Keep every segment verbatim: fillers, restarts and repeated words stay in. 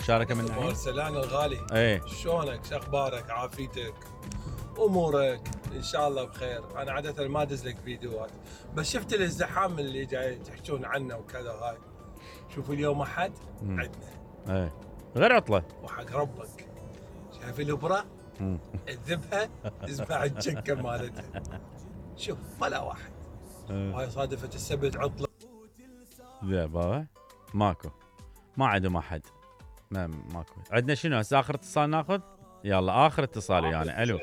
مشاركه من ابو ارسلان الغالي، ايه شلونك؟ شو اخبارك؟ عافيتك؟ امورك ان شاء الله بخير. انا عاده ما ادز لك فيديوهات، بس شفت الازدحام اللي جاي تحكون عنه وكذا. هاي شوف اليوم احد عندنا ايه غير عطله وحق ربك. شايف الابره الذبحه اسمع الجكه مالتها. شوف ولا واحد. وهاي صادفه السبت عطله. لا بابا ماكو، ما عندهم احد، ما ماكو. عندنا شنو هسه؟ اخر اتصال ناخذ. يلا اخر اتصال يعني. الو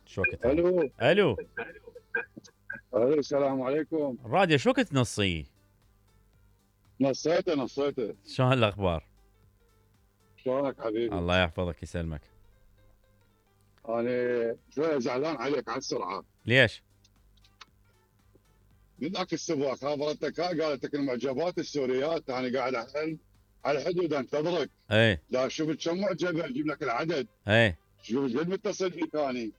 شو وقت؟ الو الو الو السلام عليكم. الراديو شو وقت نصي؟ نصيته نصيته. شلون الاخبار؟ شلونك حبيبي؟ الله يحفظك يسلمك. انا شويه زعلان عليك على السرعه. ليش؟ من ذاك السباق خابرتك قالت لك المعجبات السوريات، انا قاعد على على الحدود انتظرك. ايه لا شفت كم معجبه اجيب لك العدد. ايه شوف قد متصل فيك انا.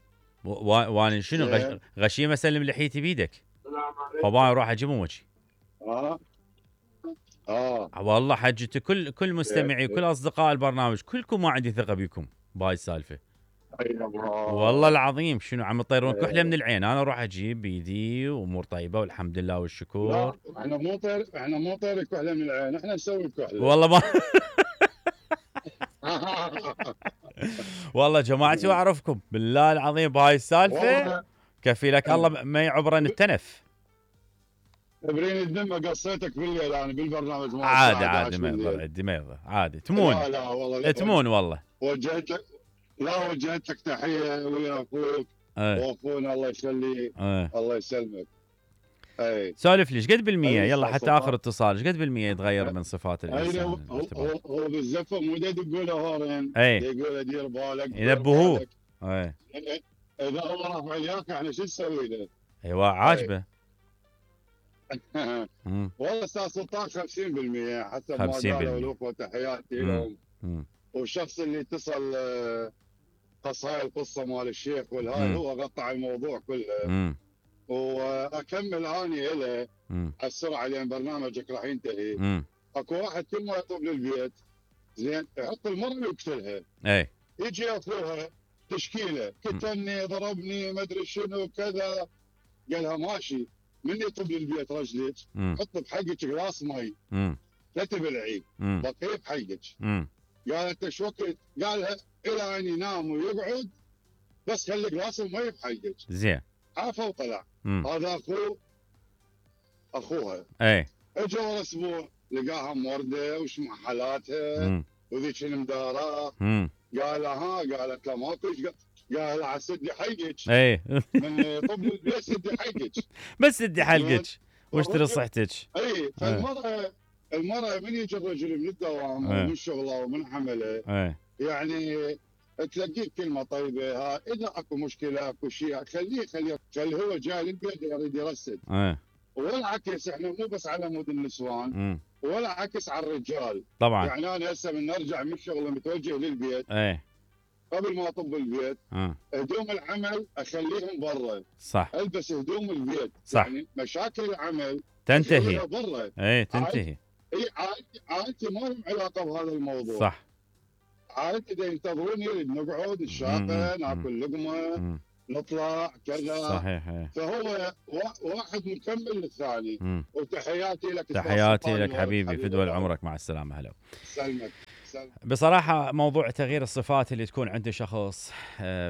وانا شنو غش... غشيمه اسلم لحيتي بيدك. فباي اروح اجيبهم وجهي. اه اه والله حجتي كل كل مستمعي كل اصدقاء البرنامج كلكم ما عندي ثقه بكم بهاي السالفه. والله العظيم شنو عم تطيرون كحله من العين. انا اروح اجيب بيدي وامور طيبه والحمد لله والشكر. لا احنا مو طير احنا مو طير كحله من العين، احنا نسوي كحله. والله ما والله جماعتي واعرفكم بالله العظيم بهاي السالفه كفي لك الله ما يعبرن التنف. ابرين الذمه قصيتك بالليل انا بالبرنامج مالك. عادي عادي ما يضر عادي ما يضر عادي تمون. لا لا والله تمون والله. وجهت لك لا وجهت لك تحيه ويا اخوك واخونا الله يخليه. الله يسلمك. اي سولف لي ايش قد بالمية يلا حتى اخر اتصال. ايش قد بالمية يتغير من صفات الانسان؟ هو هو بالزفه مو يقول له هورين يقول له دير بالك ينبهوه. اي اذا هو رافع الياك احنا شو نسوي له؟ ايوه عاجبه. والله استاذ سلطان خمسين بالمية حسب ما قالوا الاخوه تحياتي لهم. والشخص اللي اتصل قص هاي القصه مال الشيخ والهاي هو قطع الموضوع كله. واكمل اني له على السرعه لان برنامجك راح ينتهي. اكو واحد كل ما يطب للبيت زين يحط المره ويقتلها. اي يجي اخوها تشكيله كتلني ضربني ما ادري شنو كذا. قالها ماشي من يطب للبيت رجلك حط بحقك غلاس مي لا تبلعي بقيه بحقك. قالت ايش وقت؟ قالها الى ان ينام ويقعد بس خلي غلاس المي بحقك. زين عافى وطلع. هذا اخوه اخوها. اي اجى ورا اسبوع لقاها مورده وش مع حالاتها وذيك المدارة. قال ها قالت له ماكو. قال على سدي حقك. اي من طب البيت سدي حقك بس سدي حلقك واشتري صحتك. اي فالمرأة المرأة من يجي الرجل من الدوام ومن شغله ومن عمله يعني تلاقيه كلمه طيبه. ها اذا اكو مشكله اكو شيء خليه خليه خليه هو جاي للبيت يريد يرسل. ولا عكس احنا مو بس على مود النسوان ولا عكس على الرجال طبعا. يعني انا هسه من نرجع من الشغل متوجه للبيت ايه قبل ما اطب البيت اه. هدوم العمل اخليهم برا. صح. البس هدوم البيت. صح. يعني مشاكل العمل تنتهي برا. ايه تنتهي. اي عائلتي عائلتي ما لهم علاقه بهذا الموضوع. صح. عائلتي دا ينتظروني نقعد الشاطئ ناكل لقمه نطلع كذا. صحيح. فهو واحد مكمل للثاني. وتحياتي لك. تحياتي لك حبيبي فدوى عمرك مع السلامه. هلا سلمك. بصراحة موضوع تغيير الصفات اللي تكون عند شخص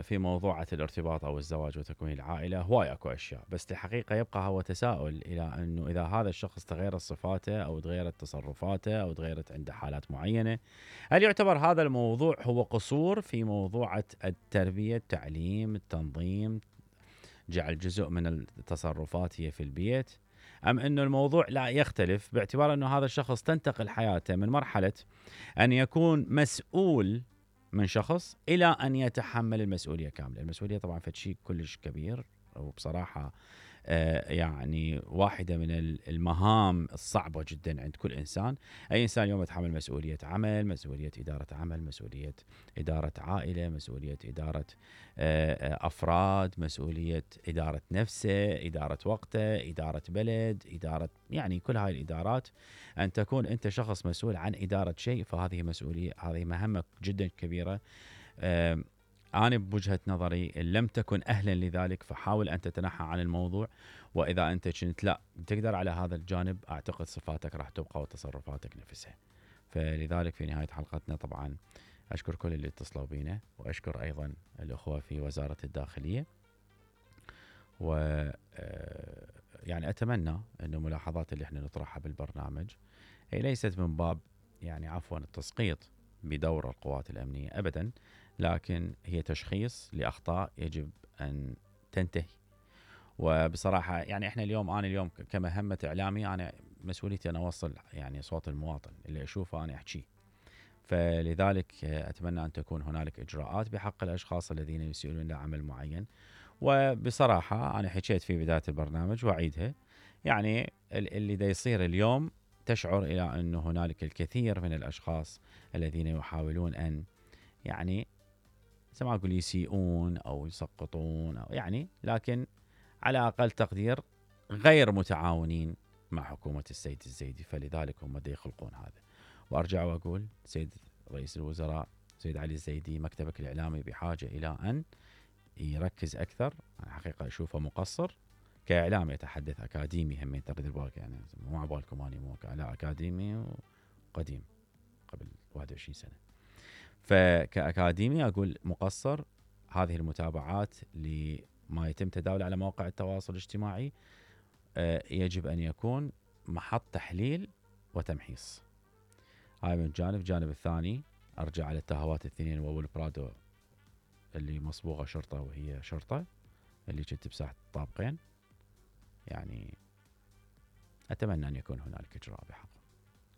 في موضوعة الارتباط أو الزواج وتكوين العائلة هواي أكو أشياء، بس الحقيقة يبقى هو تساؤل إلى أنه إذا هذا الشخص تغيرت صفاته أو تغيرت تصرفاته أو تغيرت عنده حالات معينة، هل يعتبر هذا الموضوع هو قصور في موضوعة التربية، التعليم، التنظيم، جعل جزء من التصرفات هي في البيت، أم أنه الموضوع لا يختلف باعتبار أنه هذا الشخص تنتقل حياته من مرحلة أن يكون مسؤول من شخص إلى أن يتحمل المسؤولية كاملة. المسؤولية طبعا فشي كلش كبير وبصراحة يعني واحدة من المهام الصعبة جدا عند كل إنسان. أي إنسان يوم يتحمل مسؤولية عمل، مسؤولية إدارة عمل، مسؤولية إدارة عائلة، مسؤولية إدارة أفراد، مسؤولية إدارة نفسه، إدارة وقته، إدارة بلد، إدارة يعني كل هاي الإدارات. أن تكون أنت شخص مسؤول عن إدارة شيء، فهذه مسؤولية، هذه مهمة جدا كبيرة. أنا بوجهة نظري لم تكن أهلا لذلك، فحاول أن تتنحى عن الموضوع. وإذا أنت كنت لا تقدر على هذا الجانب، أعتقد صفاتك راح تبقى وتصرفاتك نفسها. فلذلك في نهاية حلقتنا طبعا أشكر كل اللي اتصلوا بينا، وأشكر أيضا الأخوة في وزارة الداخلية. و يعني أتمنى أن الملاحظات اللي احنا نطرحها بالبرنامج هي ليست من باب يعني عفوا التسقيط بدور القوات الأمنية أبدا، لكن هي تشخيص لأخطاء يجب أن تنتهي. وبصراحة يعني احنا اليوم، أنا اليوم كمهمة إعلامي، أنا مسؤوليتي أن أوصل يعني صوت المواطن، اللي أشوفه أنا أحكيه. فلذلك أتمنى أن تكون هنالك إجراءات بحق الأشخاص الذين يسيئون لعمل معين. وبصراحة أنا حكيت في بداية البرنامج وأعيدها، يعني اللي دا يصير اليوم تشعر إلى أن هنالك الكثير من الأشخاص الذين يحاولون أن يعني زي ما أقول يسيئون أو يسقطون أو يعني، لكن على أقل تقدير غير متعاونين مع حكومة السيد الزيدي. فلذلك هم دا يخلقون هذا. وأرجع وأقول سيد رئيس الوزراء سيد علي الزيدي، مكتبك الإعلامي بحاجة إلى أن يركز أكثر. أنا حقيقة أشوفه مقصر كإعلامي، يتحدث أكاديمي هم تريد بالك، يعني مو عبالكم أني مو لا أكاديمي وقديم قبل واحد وعشرين سنة. فكأكاديمي أقول مقصر. هذه المتابعات لما يتم تداوله على مواقع التواصل الاجتماعي يجب أن يكون محط تحليل وتمحيص. هاي من جانب. جانب الثاني أرجع على التهوات الاثنين وأول برادو اللي مصبوغة شرطة وهي شرطة، اللي كنت بساحة طابقين. يعني أتمنى أن يكون هنالك إجراء بحقه،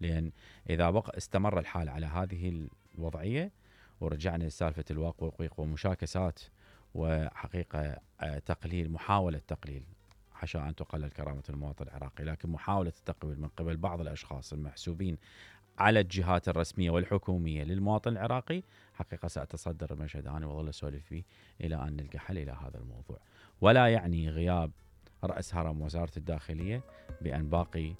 لأن إذا بقى استمر الحال على هذه الوضعية ورجعنا لسالفة الواق والقيق ومشاكسات وحقيقة تقليل، محاولة تقليل، حاشا أن تقلل كرامة المواطن العراقي، لكن محاولة التقليل من قبل بعض الأشخاص المحسوبين على الجهات الرسمية والحكومية للمواطن العراقي، حقيقة سأتصدر المشهد أنا وظل أسولف فيه إلى أن نلقى حل إلى هذا الموضوع. ولا يعني غياب رأس هرم وزارة الداخلية بأن باقي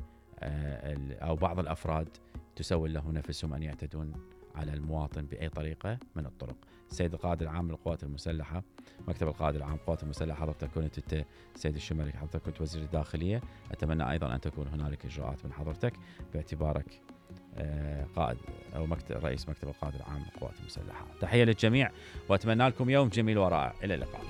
أو بعض الأفراد تسول له نفسهم أن يعتدون على المواطن بأي طريقة من الطرق. السيد القائد العام للقوات المسلحة، مكتب القائد العام للقوات المسلحة، حضرتك كنت انت سيد الشمالي، حضرتك كنت وزير الداخلية. أتمنى أيضا أن تكون هنالك إجراءات من حضرتك باعتبارك قائد أو مكتب رئيس مكتب القائد العام للقوات المسلحة. تحية للجميع وأتمنى لكم يوم جميل ورائع. إلى اللقاء.